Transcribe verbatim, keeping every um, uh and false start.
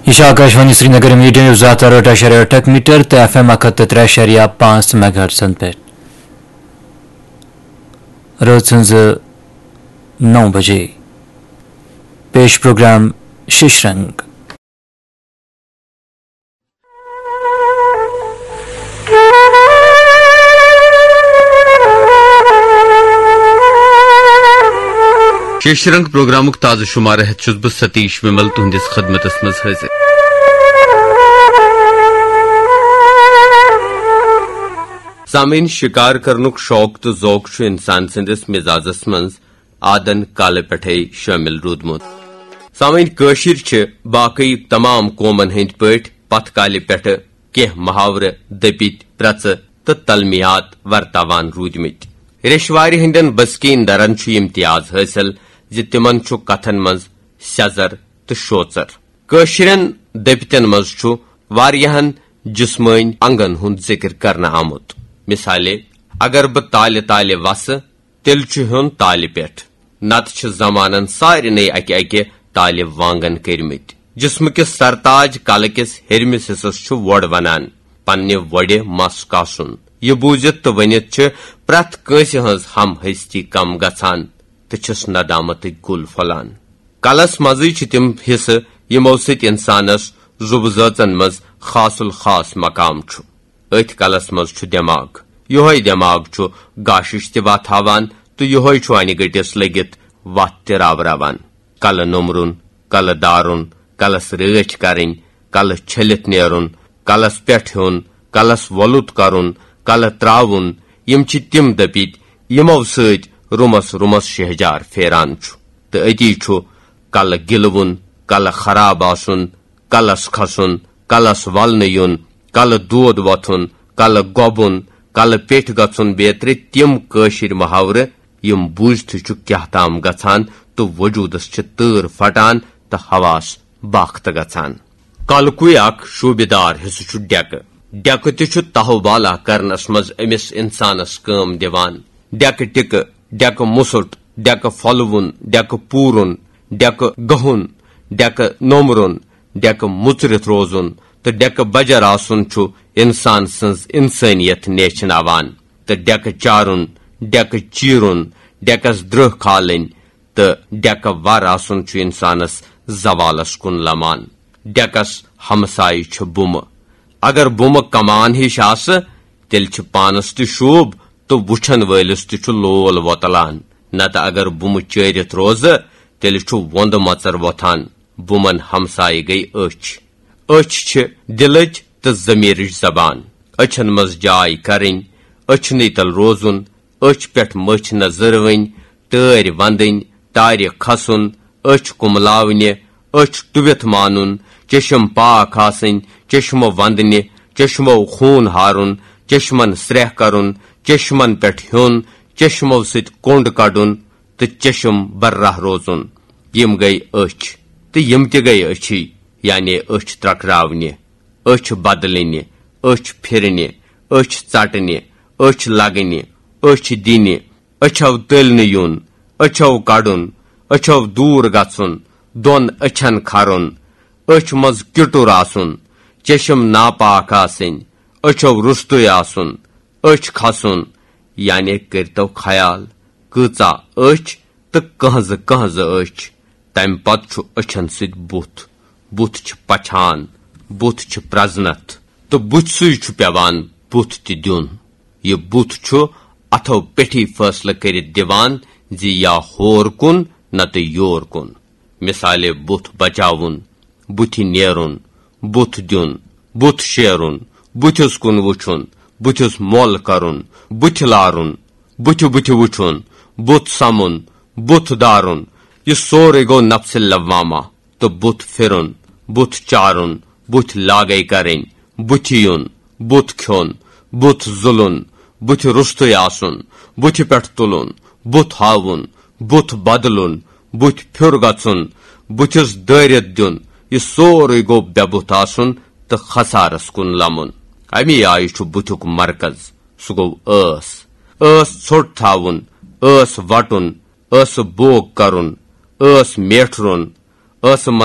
یہِ چھِ Akashvani Srinagar medium view زٕ ہَتھ تہٕ ٲٹھ اَشاریہ ٲٹھ میٖٹر تہٕ ایف ایم اَکھ ہَتھ تہٕ ترٛےٚ اَشاریہ پانٛژھ میگا ہرٹزن پٮ۪ٹھ۔ رٲژ ہٕنٛزٕ نَو بجے۔ پیش پروگرام شیش رنگ۔ شیش رنگ پروگرامُک تازٕ شمارٕ ہٮ۪تھ چھُس بہٕ ستیش ومل تُہنٛدِس خدمتس منٛز حٲضِر۔ سامعین، شکار کرنُک شوق تہٕ ذوق چھُ انسان سٕنٛدِس مزازس منٛز آدن کالہٕ پٮ۪ٹھے شٲمِل روٗدمُت۔ سامعین، کٲشِرۍ چھِ باقٕے تمام قومن ہٕنٛدۍ پٲٹھۍ پتھ کالہِ پٮ۪ٹھٕ کینٛہہ محاورٕ، دٔپِتۍ، پرٛژٕ تہٕ تلمیحات ورتاوان روٗدمٕتۍ۔ ریشوارِ ہٕنٛدٮ۪ن بسکیٖن درن چھُ امتیاز حٲصِل زِ تِمن چھُ کتھن منٛز سیٚزر تہٕ شوژر۔ کٲشرٮ۪ن دٔپتن منٛز چھُ واریاہن جسمٲنۍ انگن ہُنٛد ذکر کرنہٕ آمُت۔ مثالے، اگر بہٕ تالہِ تالہِ وسہٕ، تیٚلہِ چھُ ہیوٚن تالہِ پٮ۪ٹھ، نتہٕ چھِ زمانن سارنٕے اکہِ اکہِ تالہِ وانگن کٔرمٕتۍ۔ جسمہٕ کِس سرتاج کلہٕ کِس ہیٚرمِس حصس چھُ وۄڑ ونان۔ پننہِ وۄڑِ مس کاسُن۔ یہِ بوٗزِتھ تہٕ ؤنِتھ چھِ پرٛٮ۪تھ کٲنٛسہِ ہٕنٛز ہم ہستی کم گژھان تہٕ چھِس ندامتٕکۍ گُل پھۄلان۔ کلس منٛزٕے چھِ تِم حصہٕ، یِمو سۭتۍ انسانس زُبہٕ زٲژن منٛز خاص الخاص مقام چھُ۔ أتھۍ کلس منٛز چھُ دٮ۪ماغ۔ یِہوے دٮ۪ماغ چھُ گاشِش تہِ وتھاوان تہٕ یِہوے چھُ انہِ گٔٹِس لٔگِتھ وتھ تہِ راوراوان۔ کلہٕ نوٚمرُن، کلہٕ دارُن، کلس رٲچھ کرٕنۍ، کلہٕ چھٔلِتھ نیرُن، کلس پٮ۪ٹھ ہیوٚن، کلس وۄلُت کرُن، کلہٕ تراوُن، یِم چھِ تِم دٔپِتۍ، یِمو سۭتۍ روٗمس روٗمس شہجار پھیران چھُ۔ تہٕ أتی چھُ کلہٕ گِلوُن، کلہٕ خراب آسُن، کلس کھسُن، کلس ولنہٕ یُن، کلہٕ دود وۄتھُن، کلہٕ گۄبُن، کلہٕ پیٚٹھۍ گژھُن بیترِ تِم کٲشِرۍ محاورٕ، یِم بوٗزتھٕے چھُ کیاہ تام گژھان تہٕ وجوٗدس چھِ تۭر پھٹان تہٕ حواس باختہٕ گژھان۔ کلکُے اکھ شوٗبہِ دار حصہٕ چھُ ڈیکہٕ۔ ڈیکہٕ تہِ چھُ تہوبالا کرنس منٛز أمِس انسانس کٲم دِوان۔ ڈیکہٕ ٹِکہٕ، ڈیکہٕ مُسُٹ، ڈیکہٕ پھۄلوُن، ڈیکہٕ پوٗرُن، ڈیکہٕ گہُن، ڈیکہٕ نومرُن، ڈیکہٕ مُژرِتھ روزُن تہٕ ڈیکہٕ بجر آسُن چھُ انسان سٕنٛز انسٲنیت نیچھناوان۔ تہٕ ڈیکہٕ چارُن، ڈیکہٕ چیرُن، ڈیکس درٛہ کھالٕنۍ تہٕ ڈیکہٕ ور آسُن چھُ انسانس زوالس کُن لمان۔ ڈیکس ہمسایہِ چھِ بُمہٕ۔ اگر بُمہٕ کمان ہِش آسہٕ، تیٚلہِ چھِ پانس تہِ شوٗب تہٕ وُچھن وٲلِس تہِ چھُ لول وۄتلان۔ نتہٕ اگر بُمہٕ چٲرِتھ روزٕ، تیٚلہِ چھُ وۄندٕ مژر وۄتھان۔ بُمن ہمسایہِ گٔے أچھ۔ أچھ چھِ دِلٕچ تہٕ ضمیرٕچ زبان۔ أچھن منٛز جاے کرٕنۍ، أچھنٕے تل روزُن، أچھ پٮ۪ٹھ مٔچھ نہ زٔروٕنۍ، ٹٲرۍ وندٕنۍ، ٹارِ کھسُن، أچھ کُملاونہِ، أچھ ٹُوِتھ مانُن، چشم پاک آسٕنۍ، چشمہٕ وندنہِ، چشمو خوٗن ہارُن، چشمن سرٛیہ کرُن، چشمن پٮ۪ٹھ ہیوٚن، چشمو سۭتۍ کوٚنٛڈ کڑُن تہٕ چشم برہ روزُن۔ یِم گٔے أچھ، تہٕ یِم تہِ گٔے أچھی، یعنی أچھ ترکراونہِ، أچھ بدلنہِ، أچھ پھرنہِ، أچھ ژٹنہِ، أچھ لگنہِ، أچھ دِنہِ، أچھو تٔلۍ نہٕ یُن، أچھو کڑُن، أچھو دوٗر گژھُن، دۄن أچھن کھرُن، أچھ منٛز کِٹُر آسُن، چشم ناپاک آسٕنۍ، أچھو روٚستُے آسُن، أچھ کھسُن، یعنی کٔرتو خیال، کۭژاہ أچھ تہٕ کٕہنٛزٕ کٕہنٛزٕ أچھ۔ تمہِ پتہٕ چھُ أچھن سۭتۍ بُتھ۔ بُتھ چھِ پچھان، بُتھ چھِ پرزنتھ، تہٕ بُتھۍ سُے چھُ پٮ۪وان بُتھ تہِ دیُن۔ یہِ بُتھ چھُ اتھو پٮ۪ٹھی فٲصلہٕ کٔرِتھ دِوان زِ یا ہور کُن نتہٕ یور کُن۔ مثالے، بُتھ بچاوُن، بُتھِ نیرُن، بُتھ دیُن، بُتھ شیرُن، بُتھِس کُن وُچھُن، بُتھِس مۄل کرُن، بُتھِ لارُن، بُتھِ بُتھِ وُچھُن، بُتھ سمُن، بُتھ دارُن، یہِ سورُے گوٚو نفسِ لوامہ۔ تہٕ بُتھ پھِرُن، بُتھ چارُن، بُتھ لاگے کرٕنۍ، بُتھِ یُن، بُتھ کھیوٚن، بُتھ زُلُن، بُتھِ روٚستُے آسُن، بُتھِ پٮ۪ٹھ تُلُن، بُتھ ہاوُن، بُتھ بدلُن، بُتھِ پھیُر گژھُن، بُتھِس دٲرِتھ دیُن، یہِ سورُے گوٚو بے بُتھ آسُن تہٕ خسارس کُن لمُن۔ اَمی آیہِ چھُ بُتھیُک مرکز، سُہ گوٚو ٲس۔ ٲس ژھوٚٹ تھاوُن، ٲس وٹُن، ٲسہٕ بوگ کرُن، ٲس میٹھرُن، ٲسہٕ